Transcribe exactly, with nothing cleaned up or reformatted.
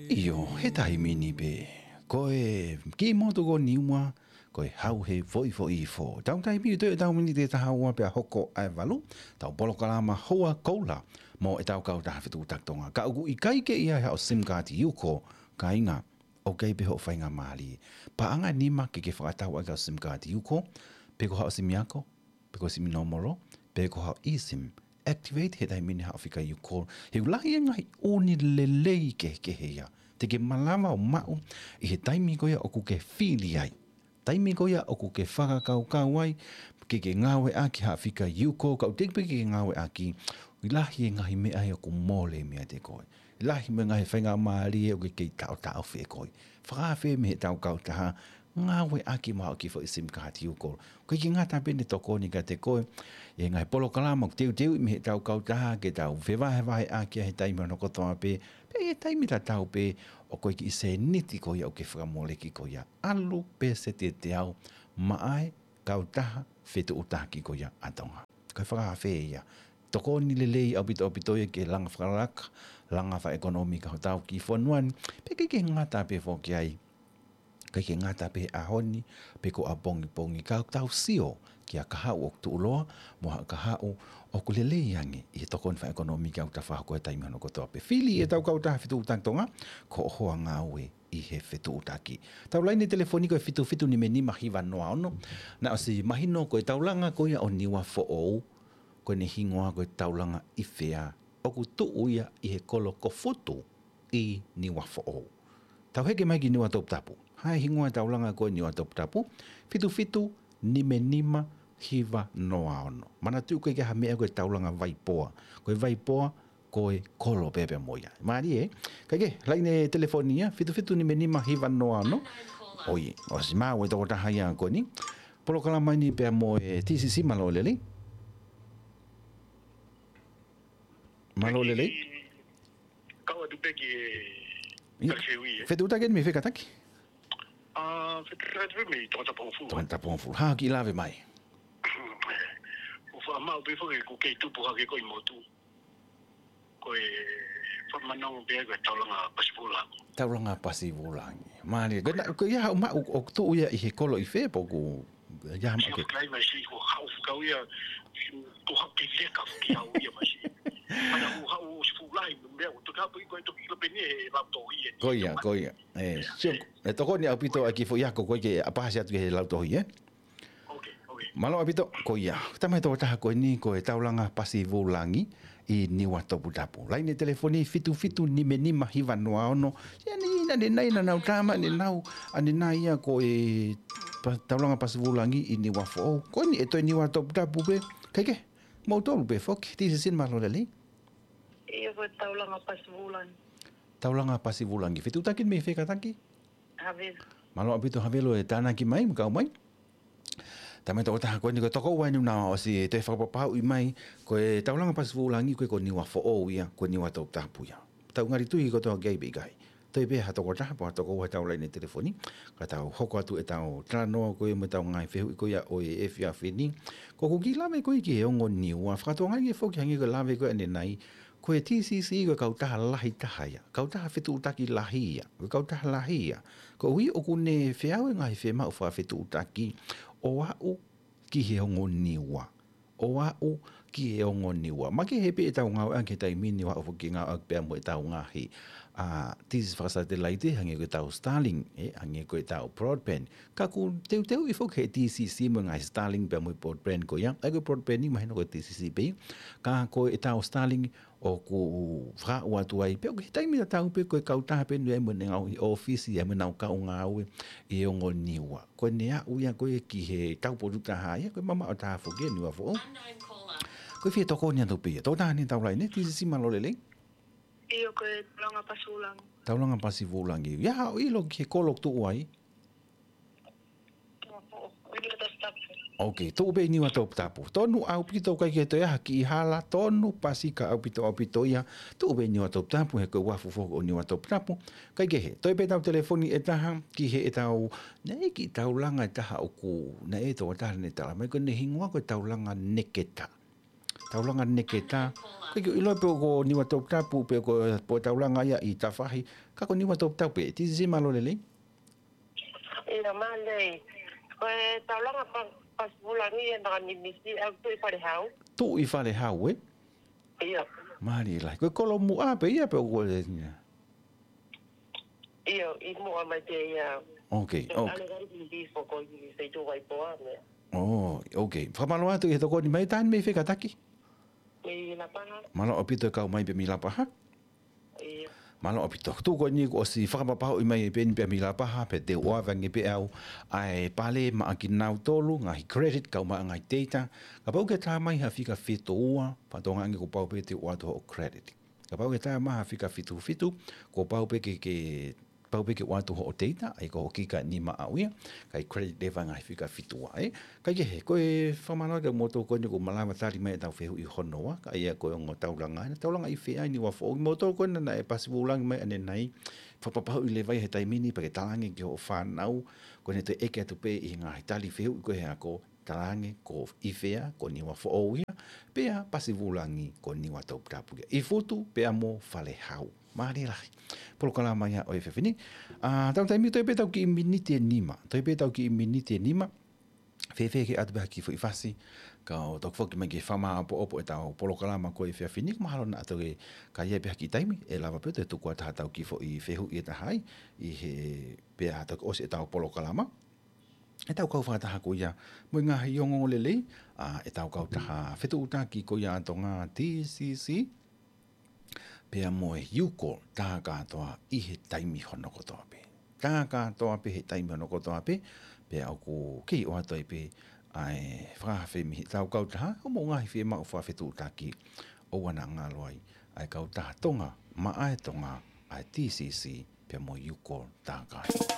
ʻIo, he taimi ni pē. Ko e kiʻi motu ko Niua, ko e Hau he Foʻifoʻi Ifo. Tau taimi ʻi he tau miniti ʻe taha ua pea hoko ʻa e valu, tau polokalama Hoa Koula mo e tau kautaha Fetuʻutaki Tonga. Ka ʻoku ʻikai ke ʻi ai haʻo SIM card UCORE, kāinga, ʻoku ʻikai pē hoʻo faingamālie. Paʻanga ʻe nima ke ke fakatau ai ki haʻo SIM card UCORE, pe ko haʻo simi ako, pe ko e simi nōmolo, pe ko haʻo eSIM. Activate he taimi ni haʻo fika UCORE. He ʻoku lahi e ngaahi ʻū lelei kehekehe ia te ke malava ʻo maʻu ʻi he taimi ko ia ʻoku ke fili ai. Taimi ko ia ʻoku ke fakakaukau ai ke ke ngāueʻaki haʻo fika UCORE, ka ʻoku teʻeki pē ke ke ngāueʻaki, ʻoku lahi e ngaahi meʻa ia ʻoku mole meiate koe. Lahi mo e ngaahi faingamālie ʻoku ke kei taʻotaʻofi ʻe koe. Fakaafeʻi mei he tau kautaha, ngāueʻaki mai haʻo kiʻi foʻi SIM card UCORE. ʻOku ʻikai ke ngata pē ʻene tokoni kiate koe ʻi he ngaahi polokalama ʻoku teuteuʻi mei he tau kautaha ke tau fevahevaheʻaki ʻi he taimi hono kotoa pē, pea ʻi he taimi tatau pē ʻoku ʻi ai e kiʻi sēniti ko ia ʻoku ke fakamoleki ko ia. ʻAlu pē sēniti ʻe teau maʻa e kautaha Fetuʻutaki ko ia ʻa Tonga. Ko e fakaafeʻi ia. Tokoni lelei ʻaupito ʻaupito ia ki he langa fakalakalaka, langa fakaʻekonōmika hotau kiʻi fonua ni, pea ʻikai ke ngata pē foki ai. ʻIkai ke ngata pē he ʻaho ni, pe ko ʻapongipongi, ka ʻoku tau sio ki ha kahaʻu ʻoku tuʻuloa, mo ha kahaʻu ʻoku lelei ange ʻi he tokoni fakaʻekonōmika ʻoku tau fakahoko he taimi hono kotoa pē. Fili e tau kautaha Fetuʻutaki Tonga ko hoʻo hoa ngāue ʻi he fetuʻutaki. Tau laine telefoni ko e fitu fitu nima nima hiva noa ono. Naʻe ʻosi mahino ko e taulanga ko ia ʻo Niuafoʻou, ko ʻene hingoa ko e taulanga ʻIfea, ʻoku tuʻu ia ʻi he kolo ko Futu ʻi Niuafoʻou. Tau heke mai ki Niuatoputapu. Hā e hingoa e taulanga ko e Niuatoputapu? Fitu fitu nima nima hiva noa ono. Manatuʻi ʻoku ʻikai ke ʻi ai ha meʻa ko e taulanga Vaipoa. Ko e Vaipoa ko e kolo pē pea mo ia. Mālie, ē? Kae kehe, laine telefoni ia, fitu fitu nima nima hiva noa ono. ʻOi, ʻosi maʻu e tokotaha ia ko eni. Polokalama ni pea mo e TCC, mālō e lelei. Mālō e lelei. Kau atu pē ki he Ia. Kalafeui, ē? Fetuʻutaki eni mei fē kātaki? Ā, fetuʻutaki atu pē mei Tongatapu-ʻo-Fulu. Tongatapu-ʻo-Fulu. Hā kiʻi lave mai? ʻOku faʻa maʻu pē foki ʻoku kei tupu hake ko ē ʻi motu. Ko e faʻa manongo pē ko e taulanga Pasivulangi. Taulanga Pasivulangi. Mālie, ko e na-, ko ia haʻu maʻu ʻoku tuʻu ia ʻi he kolo ʻIfea pe ʻoku ia maʻu ke. Siʻi fukai mai siʻi ko haʻu fukau ia, ko haʻu ki leka fuki au ia mai siʻi. Ana ko haʻu ʻosi fuʻu lahi, meʻa ʻoku toki haʻu pē ko e toki ʻilo pē ni he lautohi ē. Ko ia, ko ia. Ē, sio, ē, tokoni ʻaupito ʻa e kiʻi foʻi ako ko ē ke ʻapasia atu ki he lautohi, ē? ʻOkei, ʻokei. Mālō ʻaupito, ko ia. Tama e tokotaha ko eni, ko e taulanga Pasivulangi ʻi Niuatoputapu. Laine telefoni fitu fitu nima nima hiva noa ono. Ia ni, naʻa ne nai naʻa nau tama, ne nau, ʻa ne nai ia ko e pa-, taulanga Pasivulangi ʻi Niuafoʻou. Ko eni ʻe toe Niuatoputapu pē, kae kehe, moutolu pē foki, TCC, mālō e lelei. ʻIo, ko e taulanga Pasivulangi. Taulanga Pasivulangi. Fetuʻutaki mei fē kātaki? Havelu. Mālō ʻaupito Havelu e tānaki mai, mo kau mai. Tama e tokotaha ko eni ko e tokoua eni naʻa ʻosi toe fakapapauʻi mai, ko e taulanga Pasivulangi ko e ko Niuafoʻou ia, ko Niuatoputapu ia. Tau ngali tui kotoa ki ai pe ʻikai. Toe pē ha tokotaha pe ha tokoua he tau laine telefoni, ka tau hoko atu e tau talanoa ko ē mo e tau ngaahi fehuʻi ko ia ʻo e efiafi ni. Ko ʻeku kiʻi lave ko ē ki he ongo Niua, fakatokangaʻi ange foki hangē ko e lave ko ē ʻanenai, ko e TCC ko e kautaha lahi taha ia, kautaha fetuʻutaki lahi ia, ko e kautaha lahi ia. Koeʻuhi ʻoku ne feau e ngaahi fiemaʻu fakafetuʻutaki ʻo aʻu ki he ongo Niua. ʻO aʻu ki he ongo Niua. Makehe pē ʻetau ngāueʻaki he taimi ni ʻo aʻu foki ke ngāueʻaki pea mo ʻetau ngaahi, ā, TCC fakasatelaite, hangē ko ʻetau Starlink, ē, hangē ko ʻetau broadband. Ka ʻoku teuteuʻi foki he TCC mo e ngaahi Starlink pea mo e broadband ko ia. ʻA ia ko e broadband ni mahino ko e TCC pē ia. Ka ko ʻetau Starlink ʻoku fakaaʻu atu ai, pea ʻoku ʻi he taimi tatau pē ko e kautaha pē ʻoku ʻi ai mo ʻene ngaahi ʻōfisi, ʻi ai mo ʻenau kau ngāue ʻi he ongo Niua. Ko ʻene aʻu ia ko ē ki he taupotu taha ia, ko e mamaʻo taha foki ʻa Niuafoʻou. Ko e fie tokoni atu pē ia. Tokotaha ʻi he tau laine, TCC, mālō e lelei. ʻIo, ko e taulanga Pasivulangi. Taulanga Pasivulangi. ʻI ai haʻo ʻilo ki he kolo ʻoku tuʻu ai? ʻOkei, tuʻu pē ʻi Niuatoputapu. Tonu ʻaupito, ʻikai ke toe ʻi ai ha kiʻi hala, tonu pasika ʻaupito ʻaupito ia, tuʻu pē ʻi Niuatoputapu, he ko e uafu foki ʻo Niuatoputapu. Kae kehe, toe pē tau telefoni ʻe taha, ki heʻetau, naʻe ʻi ai e kiʻi taulanga ʻe taha ʻoku, naʻe ʻi ai e tokotaha naʻa ne tala mai, ko ʻene hingoa ko e taulanga Neketa. Taulanga Neketa. ʻIkai ke u ʻilo pe ko Niuatoputapu pe ko, pe ko e taulanga ia ʻi Tafahi. Ka ko Niuatoputapu pē. Tisi, mālō e lelei. ʻIo, mālō. Ko e taulanga pa-, Pasivulangi ʻe naka nimisi ʻa Tuʻi Falehau. Tuʻi Falehau, ē? ʻIo. Mālō e lelei. Ko e kolo muʻa pē ia pe ko e ʻIo, ʻi muʻa mai pē ia. Ok, ok. ʻAle kari ki foko i se tu vai poa mea. Oh, ok. Fakamālō atu ʻi he tokoni mai, taimi mei fē kātaki? Mei Lapaha. Mālō ʻaupito e kau mai pē mei Lapaha. ʻIo. Mālō ʻaupito. Tuku ko eni kuo ʻosi fakapapauʻi mai pē eni pē mei Lapaha, pea te u ʻoange pē au ʻa e pale maʻa kinautolu, ngaahi credit, kau mai ngaahi data. Kapau ʻoku ke tā mai ha fika fitu ua, fatongia ange kuo pau pē te u ʻoatu hoʻo credit. Kapau ʻoku ke tā mai ha fika fitu fitu, kuo pau pē ke, ke, pau pē ke ʻoatu hoʻo data, ʻa ia ko hoʻo kika nima ʻaʻau ia, kae credit leva ngaahi fika fitu ua, ē. Kae kehe, ko e fakamālō atu kiate kimoutolu ko eni kuo malava tali mai ʻetau fehuʻi hono ua, ka ʻi ai ko e ongo taulanga, ʻa e taulanga ʻi fē ʻa Niuafoʻou, kimoutolu ko ena naʻe Pasivulangi mai ʻanenai, fakapapauʻi leva ia he taimi ni pea ke talaange ki hoʻo fānau, ko ena te ʻeke atu pē ʻi he ngaahi tali fehuʻi ko ē he ako, talaange ko ʻIfea, ko Niuafoʻou ia, pea Pasivulangi ko Niuatoputapu ia. ʻI Futu, pea mo Falehau. Mālie lahi. Polokalama ia ʻo e efiafi ni. ʻA, tau taimi toe pē ʻetau kiʻi miniti ʻe nima. Toe pē ʻetau kiʻi miniti ʻe nima. Fēfē ke ʻoatu pē ha kiʻi foʻi fasi. Ka ʻoku tau foki mai ki he fakamāʻopoʻopo ʻetau polokalama ko e efiafi ni. Mahalo naʻa tau ke, ka ʻi ai pē ha kiʻi taimi, ʻe lava pē ʻo toe tuku atu ha tau kiʻi foʻi fehuʻi ʻe taha ai. ʻI he pea tau ʻosi ʻetau polokalama. ʻEtau kau fakataha ko ia mo e ngaahi ongoongolelei, ʻa, ʻetau kautaha fetuʻutaki ko ia ʻa Tonga, TCC, pea mo e UCOL, tā kātoa ʻi he taimi hono kotoa pē. Tā kātoa pē he taimi hono kotoa pē, pea ʻoku kei ʻoatu ai pē ʻa e fakaafe mei heʻetau kautaha, ʻo mo e ngaahi fiemaʻu fakafetuʻutaki ʻoua naʻa ngalo ai, ʻa e kautaha Tonga, maʻa e Tonga, ʻa e TCC, pea mo e UCOL, tā kātoa.